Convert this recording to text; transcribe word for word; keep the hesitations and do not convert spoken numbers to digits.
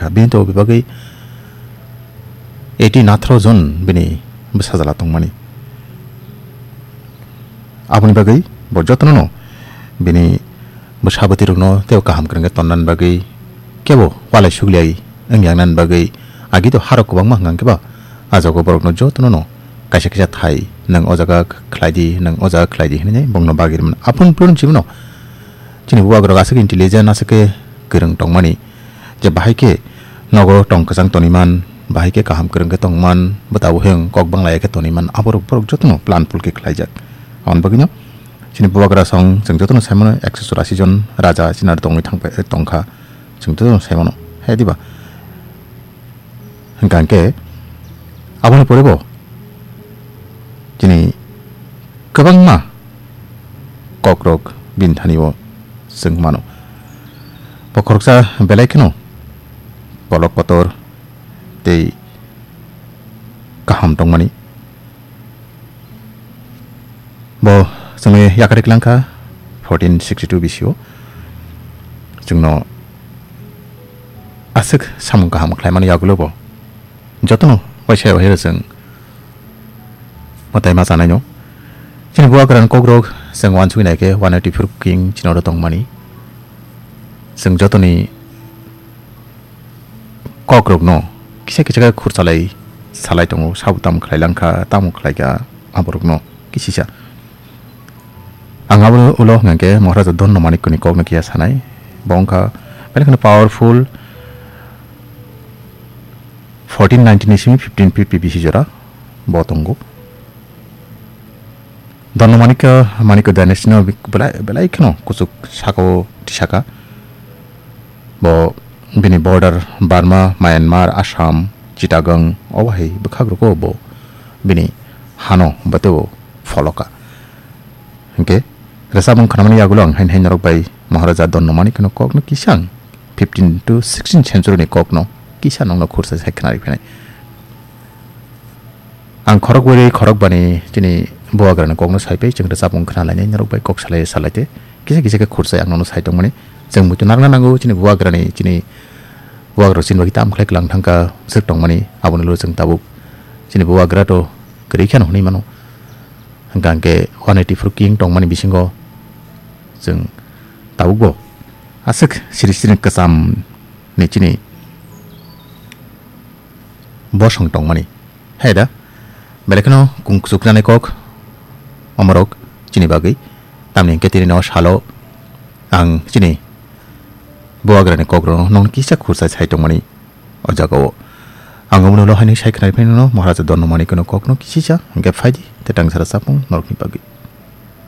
Bini to bebagwi eighty nathro jon bini bwsajala tongmani. Aboni bagwi bo jotono no bini bwsa bwtwi rokno tei kaham kwrwngkhe tonnani bagwi kebo walai sugliai wngya wngnani bagwi agi to harok kwbangma hwnkha khe ba ah jaga borokno jotono no kaisa kaisa thai nwng o jaga khlai di, nwng o jaga khlai di hinwi bongno bagwi rwmani. Aphuru phuru chibino chini bubagrok aswk intelligent, aswk khe kwrwng tongmani je bahai khe nogo tong kwchang toniman, bahai khe kaham kwrwng khe tongman, bwtabo heng kok banglaya khe toniman, aborok borok jotono plan pool khe khlaijak. Aboni bagwino chini bubagra song chwng jotono saimano ekso churasi jon raja chini aro tongwi thangpai tongkha, chwng jotono saimano, hai diba? Hwnkha hwnkhe aboni pore bo chini kwbangma kokrok bini thani o chwng mano. Bo khoroksa belai kheno kolok kotor tei kaham tongmani. Bo chwngni yakari kwlangkha fourteen sixty two bisio. Chwngno aswk samung kaham khlaimani yagulo bo jotono waisa waisa chwng mwtai ma chanaino. Chini bubagrani kokrok chwng uansukwi naikhe one eighty four king chini oro tongmani. Chwng jotoni kokrokno kisa kisa khe khursalai salai tongo, sabo tamo khlai langkha, tamo khlaikha, aborokno kisisa. Ang abo ulo hwnkha khe Maharaja Dhanno Manikya ni kokno kiya sanai. Bo wngkha belai kheno powerful, fourteen ninety ni simi fifteen fifty bisi jora bo tongo. Dhanno Manikya, Manikya dynasty no belai, belai kheno kuchuk saka o tisaka. Bo bini border Burma, Myanmar, Assam, Chittagong, obo hai bwkhak rogo bo bini hano bwtwi o pholoka. Hwnkhe rwchapmung khnamani yagulo ang hain hain norok bai Maharaja Dhanno Manikya no kokno kisa ang fifteen to sixteen century ni kokno kisa nokno khursa sai khna riphinai. Ang khorok bwrwi khorok bani chini bubagrani kokno saipai chwng rwchapmung khna lainai norok bai kok salai salai te kisa kisa khe khursa ang nono sai tongmani. Chwng muitu narwkna nango chini bubagrani, chini bubagrok chini bagwi tamo khlai kwlang thangkha swk tongmani, aboni ulo chwng tabuk chini bubagra to kwrwi kheno hwnwi mano. Hwnkha hwnkhe one eighty four king tongmani bisingo chwng tabukbo aswk siri siri kwcham ni chini bosong tongmani. Hai da, belai kheno kung kuchuk nani kok omorok chini bagwi. Tamni hwnkhe tini no salo ang chini bubagrani kokrokno nokni kisa khursa sai tongmani o jaga o. Ang omono ulo haino sai khna riphaino Maharaja Dhanno Manikya no kokno kisisa hwnkhe phaidi tei tangsa rwchapmung norokni bagwi.